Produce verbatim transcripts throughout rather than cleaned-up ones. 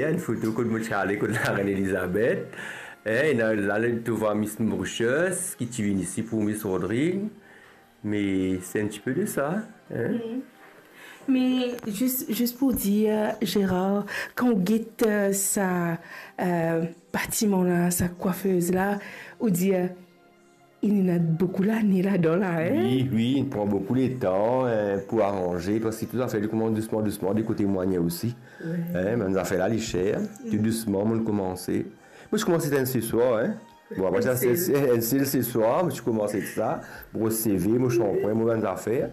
Ena enn foto kot mo ti ale kot larenn Elizabeth. Eh, ena la, la, to vwar Miss Mauritius, ki ti vinn isi pou Miss Rodrigue. Me se enn tipe de sa, hein. Mm. Me zis, zis pou dir, Gérard, kan ou get, euh, sa, euh, batiman la, sa kwafez la, ou dir, ena boukou lane ladan la, hein? Wi, wi, li pran boukou letan, eh, pou aranze, parski tou zafer li koumans dousman, dousman, de kote mwa osi. Wi. Eh, bann zafer la, li ser, tou dousman, mo koumans. Mo ti koumans enn seswar, hein. Bon, apre sa, enn sel, se, se, enn sel seswar, mo ti koumans sa, bros seve, mo sanpwin, mo bann zafer.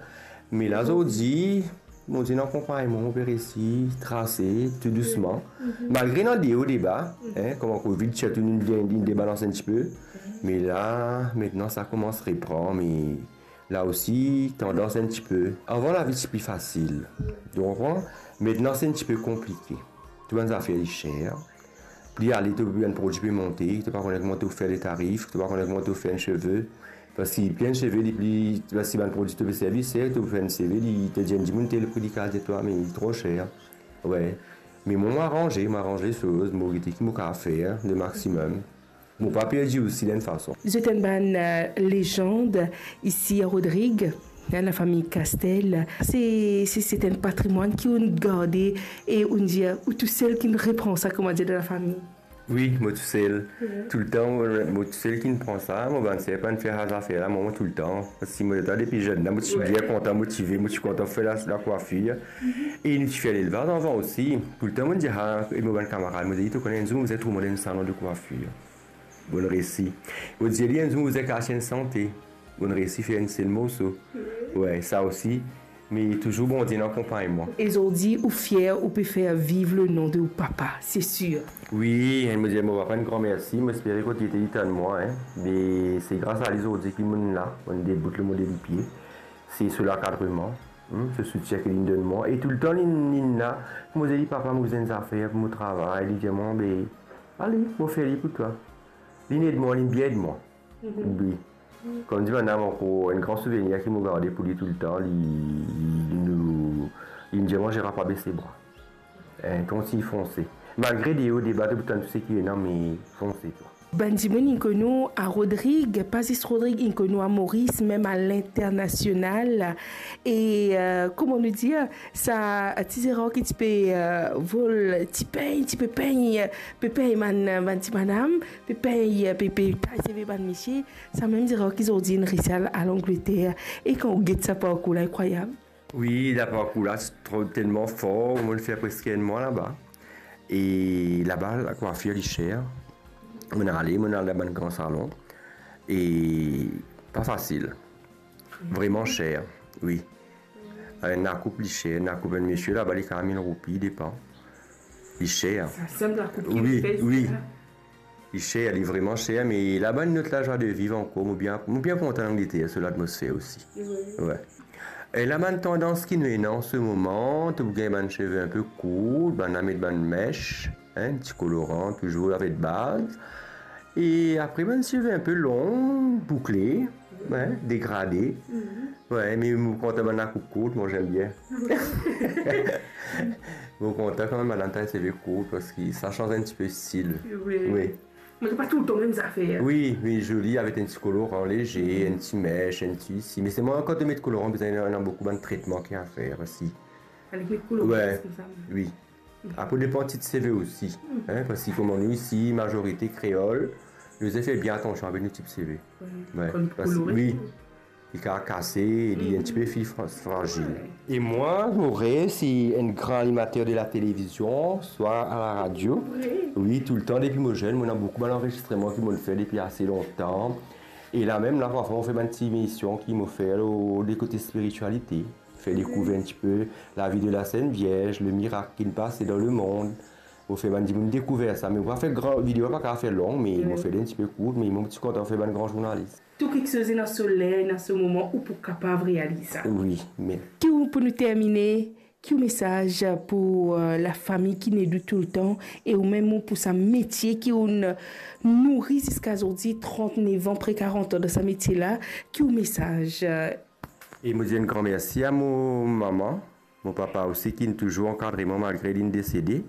Me la, zordi, Bondie inn akonpagn mwa, mo pe resi trase tou dousman. Mhm. Malgre ena de o, de ba, hein, kouma Covid, sirtou nou, nou debalans enn tipe. Me la, aster sa koumans repran, me la osi, tandans enn tipe. Avan, lavi ti pli fasil. Ou konpran? Aster se enn tipe konplike. Tou bann zafer li ser. Pli ale, to bann prodwi pe monte, to pa kone kouma to fer le tarif, to pa kone kouma to fer enn seve. Parski pli enn seve, li pli, parski bann prodwi to pe servi ser, to fer enn seve, li, to dir enn dimoun tel pri, li kapav dir twa, me li tro ser. Wi. Me mwa, mo aranze, mo aranz lesoz, mo gete ki mo kapav fer le maximum. Mo pa perdi osi, dan enn fason. Zot enn bann, euh, lezand isi a Rodrig, hein, lafami Castel. Se, se, se enn patrimwann ki ou'nn garde e ou'nn dir, ou tousel ki'nn repran sa, kouma dir, dan lafami. Wi, mo tousel. Wi. Toultan, mo, mo tousel ki'nn pran sa, mo bann ser pa'nn fer sa zafer la, mwa, mo toultan. Parski mo leta depi zenn la, mo ti bien kontan, motive, mo ti kontan fer la, lakwafir. Mhm. E nou ti fer lelvaz avan osi. Toultan mo'nn dir, ah, e mo bann kamarad, mo dir, to kone, enn zour mo bizin trouv mwa enn salon de kwafir. Mo'nn resi. Mo dir li, enn zour mo bizin kas enn sante. Mo'nn resi fer enn sel morso. Wi. Wi, sa osi. Me touzour Bondie inn akonpagn mwa. E zordi, ou fier, ou pe fer viv le nom de ou papa, se sir. Wi, mo dir mo papa enn gran mersi, mo espere kot li ete, li tann mwa, hein. Me se gras a li zordi ki mo'nn la, mo'nn debout lor mo de lipie. Se sou lankadreman, hmm, so soutien ki li'nn donn mwa. E toultan li, li'nn la, mo dir li, papa, mo bizin enn zafer pou mo travay, li dir mwa, be, ale, mo fer li pou twa. Li'nn ed mwa, li'nn bien ed mwa. Mhm. Wi. Kouma dir, bann ankor enn gran souvenir ki mo garde pou li toultan, li, li, li nou, li'nn dir mwa, Gérard, pa bese bra. Hein, kontign fonse. Malgre de o, de ba, to pou tann tou seki ena, me fonse, twa. Bann dimoun inn konn ou a Rodrig, pa zis Rodrig, inn konn ou a Moris, mem a linternasional. E, euh, kouma nou dir, sa ti Zerar ki ti pe, euh, vol, ti pegn, ti pe pegn, pe pegn bann, bann ti madam, pe pegn, pe, pe tay seve bann misie, sa mem Zerar ki zordi inn resi al, al Angleter. E kan ou get sa parkour la, inkrwayab. Wi, laparkour la, ti tro, telman for, mo'nn fer preske enn mwa laba. E laba, lakwafir li ser. Mo'nn ale, mo'nn al dan bann gran salon. E pa fasil. Vreman ser, wi. Enn lakoup li ser, enn lakoup enn misie laba, li kapav mil roupi, depan. Li ser. Sa sanm lakoup ki... Wi, li fer, wi. Li ser, li vreman ser, me laba ena lot lazwa de viv ankor. Mo bien, mo bien kontan Langleter, so latmosfer osi. Wi. Wi. E la bann tandans ki nou ena an se moman, to pou gagn bann seve inpe kourt, bann la met bann mesh, hein, ti koloran, touzour avek baz. E apre bann seve inpe long, boukle, hein, degrade. Mhm. Wi, me mo kontan bann lakoup kourt, mwa, j'aime bien. Wi. Mo kontan kanmem madam tay seve kourt, parski sa sanz enn tipe stil. Wi. Wi. Me pa toultan mem zafer. Wi, wi, zoli, avek enn ti koloran leze, enn ti mesh, enn ti isi. Me selman kan to met koloran, bizin ena, ena boukou bann tretman ki a fer osi. Fale met koloran, wi, koumsa. Wi. Apre, depan tit seve osi, hein, parski kouma nou isi, mazorite kreol, nou bizin fer bien atansion avek nou tip seve. Wi. Wi, kan nou parski kolore. Wi. Li kapav kase, li enn tipe fi fra-, frazil. Wi. E mwa, mo rev, se enn gran animater de la televizion, swa a la radio. Wi. Wi, toultan, depi mo zenn, mo ena boukou bann anrezistreman ki mo'nn fer depi ase lontan. E la mem, la, parfwa, mo fer bann ti emision ki mo fer lor le kote spiritialite. Fer dekouver enn tipe lavi de la Sent Vierz, le mirak ki'nn pase dan lemond. Mo fer bann dimoun dekouver sa. Me mo pa fer gran video, pa kapav fer long, me mo fer li enn tipe kourt, me mo ti kontan fer bann gran zournalis. Tou kiksoz ena so ler, ena so moman, ou pou kapav realiz sa. Wi, me... Ki ou, pou nou termine, ki ou mesaz pou, euh, lafami ki inn ed ou toultan, e ou mem ou pou sa metie ki ou'nn nouri ziska zordi, trantnef an, pre karant an dan sa metie la, ki ou mesaz, euh, E mo dir enn gran mersi a mo mama, mo papa osi, ki'nn touzour ankadre mwa malgre li'nn desede.